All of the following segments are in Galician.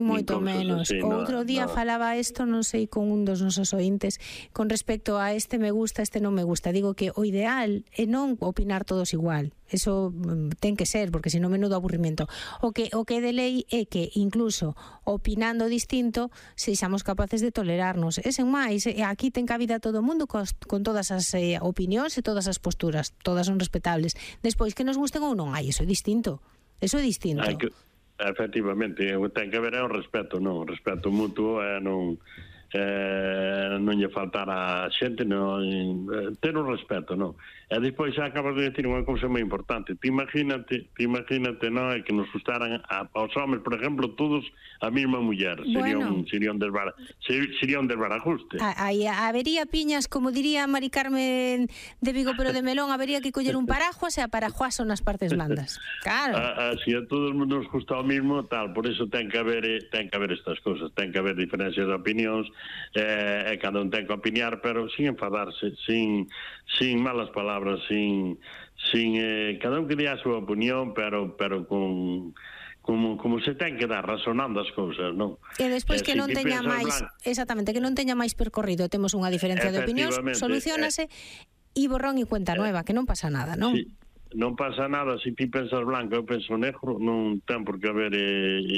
Moito menos. Así, Outro día falaba isto, non sei, con un dos nosos ointes con respecto a este me gusta, este non me gusta. Digo que o ideal é non opinar todos igual. Eso ten que ser, porque senón menudo aburrimento. O que é de lei é que incluso opinando distinto sexamos capaces de tolerarnos. E sen máis, aquí ten cabida todo o mundo con todas as opinións e todas as posturas. Todas son respetables. Despois, que nos gusten ou non, eso é distinto. Eso é distinto. Efectivamente, ten que haber un respeto, non? Respeto mutuo e non lle faltar a xente, non, ter un respeto, non? E despois xa acabas de decir unha cousa moi importante. Te imagínate, non, é que nos gustaran aos homens, por exemplo, todos a mesma muller. Sería un desbarajuste. Habería piñas, como diría Mari Carmen de Vigo, pero de melón, habería que coller un paraguas e a paraguas son as partes mandas. Claro. Así a todo o mundo nos gusta o mismo, tal, por eso ten que haber estas cousas, ten que haber diferencias de opinións, e cada un ten que opinar, pero sin enfadarse, sin malas palabras, sin cada un que dé a súa opinión, pero con como se ten que dar, razonando as cousas, non? E despois que non teña máis, exactamente, que non teña máis percorrido, temos unha diferencia de opinións, solucionase e borrón e cuenta nueva, que non pasa nada, non? Sí. Non pasa nada, se ti pensas blanco eu penso negro, non ten por que haber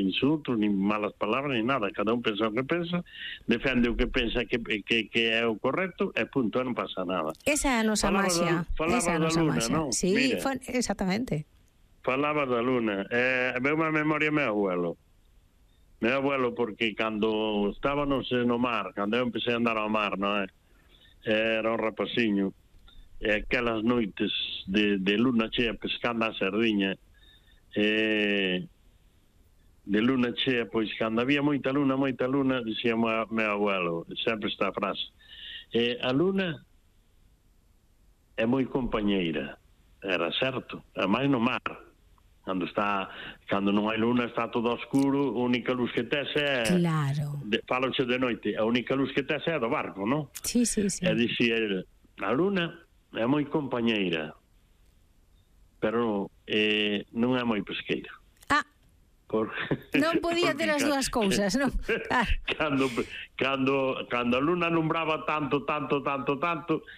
insultos, ni malas palabras, ni nada. Cada un pensa o que pensa, defende o que pensa que é o correcto, e punto, non pasa nada. Esa é a nosa maxia. Falaba da Luna, non? Sí, exactamente. Falaba da Luna. Veu unha memoria meu abuelo. Meu abuelo, porque cando estábamos no mar, cando eu empecé a andar ao mar, non é? Era un rapaciño, e aquelas noites de luna chea pescando a sardiña, de luna chea, pois cando había moita luna, dicía meu abuelo sempre esta frase, a luna é moi compañeira. Era certo, a máis no mar, cando non hai luna está todo oscuro, a única luz que tes é, claro, faloche de noite, a única luz que tes é do barco, non? Sí. E dicía ele, a luna é moi compañeira, pero non é moi pesqueira. Non podía ter as dúas cousas, non? Cando a luna alumbraba tanto, non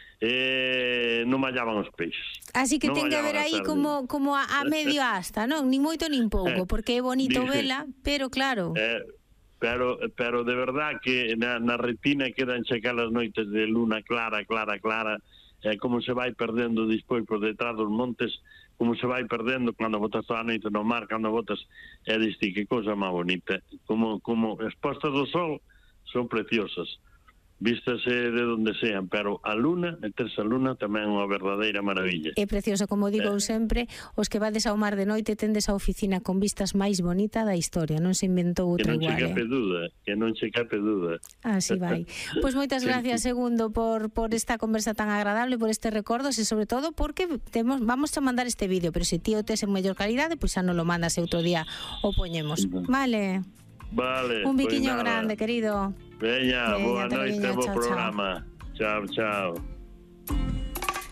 mallaban os peixes. Así que ten que haber aí como a medio asta, non? Ni moito nin pouco, porque é bonito vela, pero claro... Pero de verdad que na retina quedan aquelas noites de luna clara, como se vai perdendo despois por detrás dos montes, como se vai perdendo cando botas toda a noite no mar, cando botas, diste que cosa máis bonita, como as postas do sol son preciosas, vístase de donde sean, pero a luna, meterse a luna tamén é unha verdadeira maravilla. É precioso, como digo sempre, os que vades ao mar de noite tendes a oficina con vistas máis bonita da historia, non se inventou outra igual. Que non se cape dúda. Así vai. Pois moitas gracias, Segundo, por esta conversa tan agradable, por este recordos e sobre todo porque vamos a mandar este vídeo, pero se ti o tes en mellor calidade, pois xa non lo mandas e outro día o poñemos. Vale. Un biquiño grande, querido. Veña, boa noite, bo programa. Chao.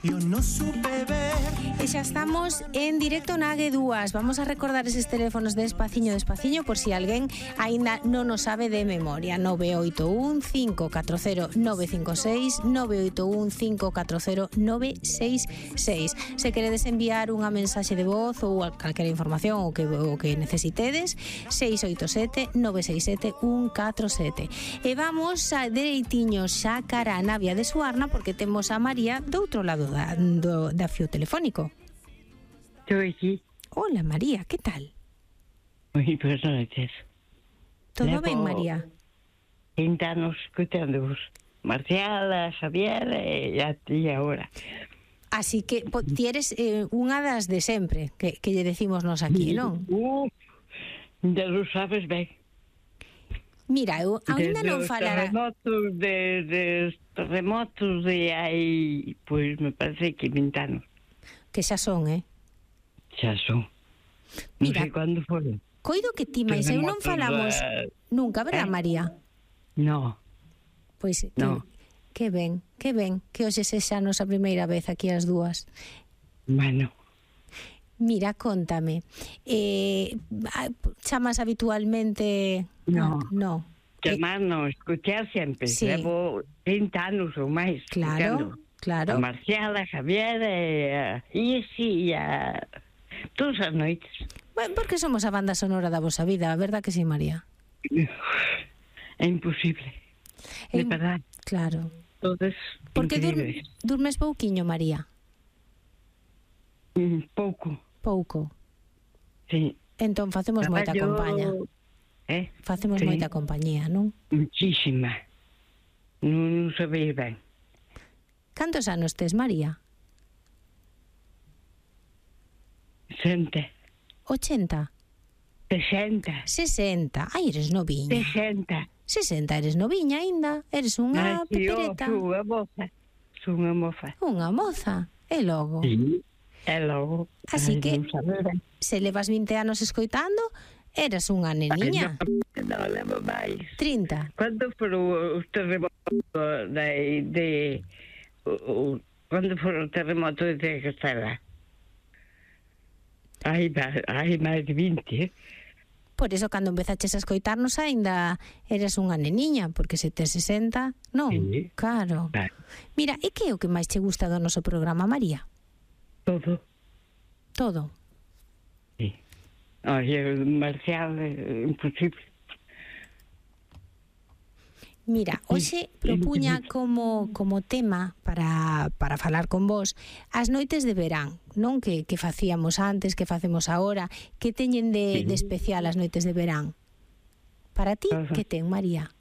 Eu non supe ver. E xa estamos en directo na AG2. Vamos a recordar eses teléfonos despaciño por si alguén aínda non o sabe de memoria. 981 540 956 981 540 966. Se queredes enviar unha mensaxe de voz ou calquera información o que necesitedes, 687 967 147. E vamos a dereitiño xa cara a Navia de Suarna, porque temos a María do outro lado da fío telefónico. Estou aquí. Hola, María, que tal? Moi boas noites. Todo ben, María? 20 anos escutando-vos. Marcial, a Xavier e a ti agora. Así que ti eres unha das de sempre que lle decimos nos aquí, non? Ya lo sabes ben. Mira, eu ainda non falara... Terremotos de hai, pois me parece que 20 anos. Que xa son, Xa son. Non sei cando foron. Coido que ti, mais eu non falamos nunca, verdad, María? No. Pois, que ben, que hoxe sexa a nosa primeira vez aquí as dúas. Bueno. Mira, contame. Chamas habitualmente? No. No. Chamar non, escuchar sempre. Sí. Levo 30 anos ou máis. Claro, claro. A Marcial, a Javier, a Isi, a todas as noites. Bueno, porque somos a banda sonora da vosa vida, a verdad que sí, María? É imposible. De verdad. Claro. Todos Porque increíbles. durmes pouquiño, María? Pouco, Pouco. sí. Entón facemos moita compañía. Facemos Sí. moita compañía, non? Muchísima. Non sabeis ben. Cantos anos tes, María? 60. 80? 60. 60? Ai, eres noviña. 60. 60, eres noviña aínda. Eres unha pepereta. Son unha moza. Son unha moza. Unha moza. E logo? Sí. E logo. Así que, non sabe ben. se levas 20 anos escoitando, eras unha neniña. Non levo máis. 30. Cando foron os terremotos cando foron os terremotos de Castela? Hai máis de 20, Por eso, cando empezaches a escoitarnos, aínda eras unha neniña, porque se tes 60, non? Sí. Claro. Mira, e que é o que máis che gusta do noso programa, María? Todo. Todo. Sí. Oye, Marcial, imposible. Mira, hoxe propuña como tema para falar con vos as noites de verán, non? Que facíamos antes, que facemos agora, que teñen de especial as noites de verán? Para ti, que ten, María?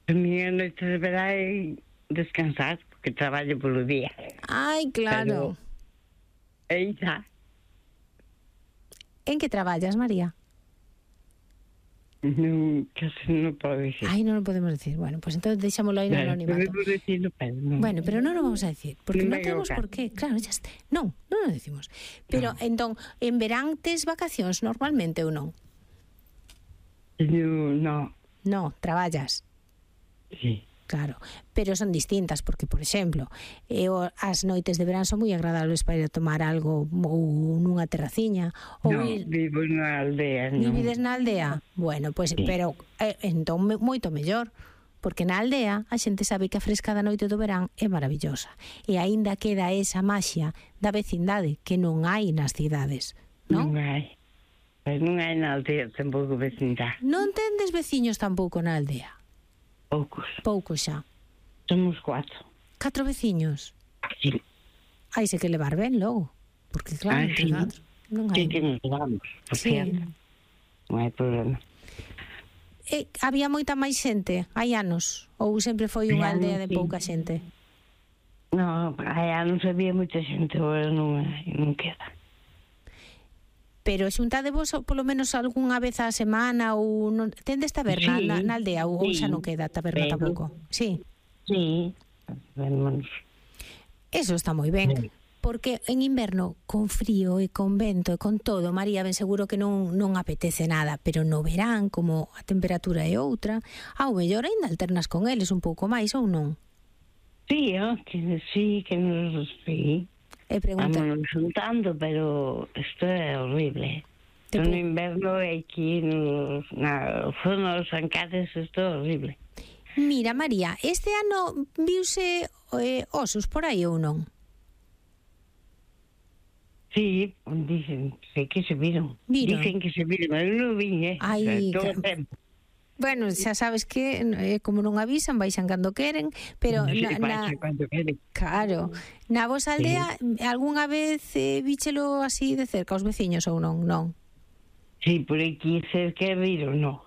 A miña noite de verán é descansar, porque traballo polo día. Ai, claro. E xa. En que traballas, María? Non, casi non podo dicir. Ai, non o podemos decir. Bueno, pues entonces deixámoslo aí no anonimato. Podemos decirlo, pero non. Bueno, pero non o vamos a decir, porque non Non temos venga, por qué. Claro, ya está. Non o decimos. Pero, entón, en verán tes vacacións normalmente ou non? Non. No, traballas. Sí. Claro, pero son distintas porque, por exemplo, as noites de verán son moi agradables para ir a tomar algo ou nunha terraciña ou vivo na aldea, non. Vivides na aldea? Bueno, pois, Sí. pero entón moito mellor, porque na aldea a xente sabe que a fresca da noite do verán é maravillosa e aínda queda esa maxia da vecindade que non hai nas cidades, non? Non hai. Pero non hai na aldea tampouco vecindade. Non tendes veciños tampouco na aldea? Poucos xa. Somos 4. 4 veciños? Sí. Hai se que levar ben logo, porque claro, entre sí. 4 non hai. Sí que nos levamos, por Sí. cierto. Non hai problema. Había moita máis xente hai anos? Ou sempre foi unha Hai aldea anos, de sí. pouca xente? Non, hai anos había moita xente, agora non queda. Pero xuntadevos polo menos algunha vez á semana ou non tendes taberna Sí, na aldea ou sí. xa non queda taberna Pero- tampouco? Sí. Sí. Vemos. Eso está moi ben. Sí. Porque en inverno, con frío e con vento e con todo, María, ben seguro que non apetece nada, pero no verán, como a temperatura é outra, ao mellor aínda alternas con eles un pouco máis ou non? Sí, que nos... Sí. E pregunta, Vámonos juntando, pero isto é horrible. Te No pu- inverno aquí na zona dos Ancares isto é horrible. mira, María, este ano viuse osos por aí ou non? Sí, dicen, sei que se viron. Viron? Dicen que se viron, eu non vin, Ai, todo o claro. tempo. Bueno, xa sabes que como non avisan, baixan cando queren, pero Sí, na, pasa cando queren. claro, na vosa aldea algunha vez víchelo así de cerca os veciños ou non? Non. Sí, por aquí cerca viron, non.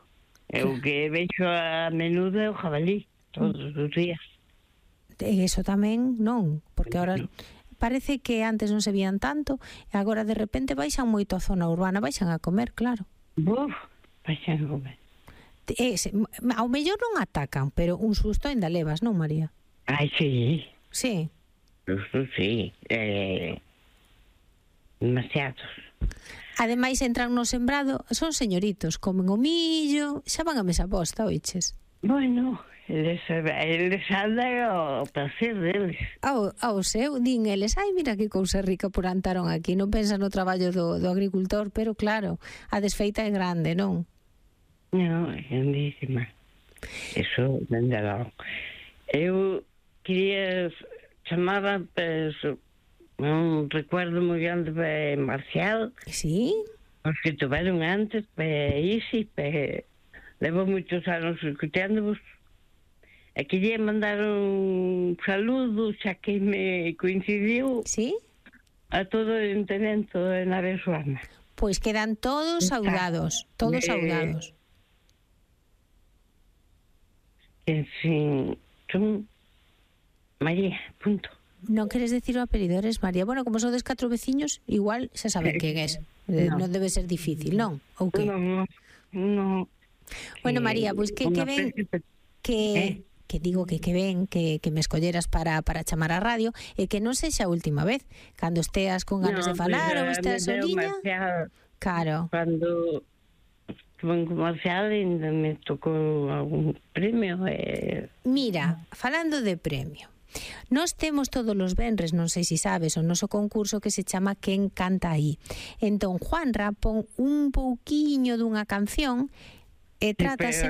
Eu que vexo a menudo é o jabalí, todos os días. E iso tamén non, porque ahora parece que antes non se vían tanto e agora de repente baixan moito a zona urbana, baixan a comer, claro. Buf, paixan comer. Ao mellor non atacan, pero un susto ainda levas, non, María? Ai, sí. Sí. Isto sí. Demasiados. Ademais entran no sembrado, son señoritos, comen o millo, xa van a mesa posta, oiches? Bueno, eles andan ao placer deles. Ao seu, din eles, ai, mira que cousa rica plantaron aquí, non pensan no traballo do agricultor, pero claro, a desfeita é grande, non? Non, é grandísima. Eso, dende logo. Eu quería chamaba un recuerdo moi grande para Marcial. Sí? Os que tuveron antes, para Isi, levo moitos anos escutándovos. E quería mandar un saludo, xa que me coincidiu, Sí? a todo o ayuntamiento de Nave Suana. Pois quedan todos saudados, todos saudados. En fin, son María, punto. Non queres decir o apelido, eres María. Bueno, como sodes 4 veciños, igual xa saben quen és. No. Non debe ser difícil, non? Ou que? No. Bueno, María, pois que ven que digo que ven que me escolleras para chamar a radio e que non sexa a última vez. Cando esteas con ganas de falar ou esteas soliña. Claro. Cando estuve en comercial ainda me tocou algún premio. Mira, falando de premio, nós temos todos os venres, non sei se sabes, o noso concurso que se chama Quen canta aí. Entón, Juanra pon un pouquiño dunha canción e trátase...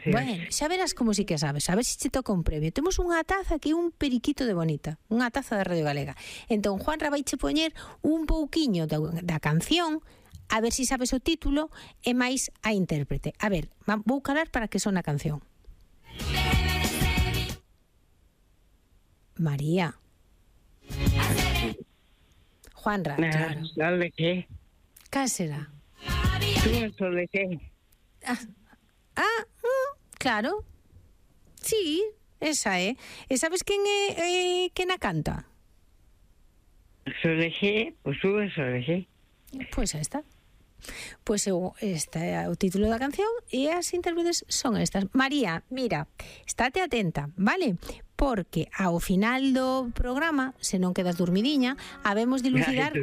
Bueno, xa verás como si que sabes, a ver se te toca un premio. Temos unha taza que é un periquito de bonita, unha taza de Radio Galega. Entón, Juanra vai che poñer un pouquiño da canción, a ver se sabes o título e máis a intérprete. A ver, vou calar para que son a canción. María. Juanra, claro. ¿De qué? Cal será? ¿Tú de qué? Claro. Sí, esa é. E sabes quen é quen a canta? Soleje, pois sube Soleje. Pois aí está. Pois este é o título da canción e as intérpretes son estas. María, mira, estate atenta, vale? Porque ao final do programa, se non quedas dormidiña, habemos de lucidar...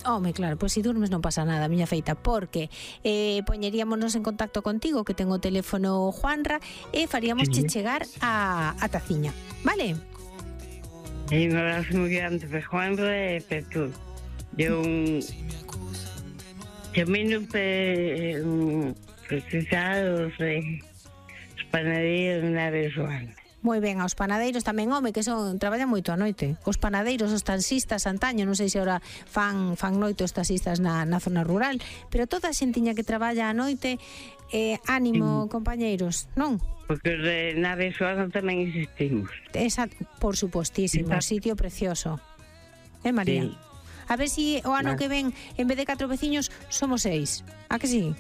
Home, claro, pois se durmes non pasa nada, miña feita, porque poñeríamonos en contacto contigo, que ten o teléfono Juanra, e faríamos chegar a taciña, vale? E un abrazo moi grande para Juanra e para tú. De un camino precisados de panadeiros na Venezuela. Moi ben, aos panadeiros tamén, home, que traballan moito a noite. Os panadeiros, os taxistas antaño, non sei se ahora fan noite os taxistas na zona rural, pero toda a xentiña que traballa a noite, ánimo, compañeiros, non? Porque na Venezuela tamén existimos. Por supostísimo, sitio precioso. María? Sí. A ver si o ano que ven, en vez de 4 veciños, somos 6. A que sí?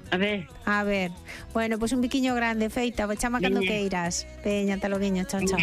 A ver. Bueno, pois un biquiño grande, feita, chama cando queiras. Veña, ata loguiño, chao, chao.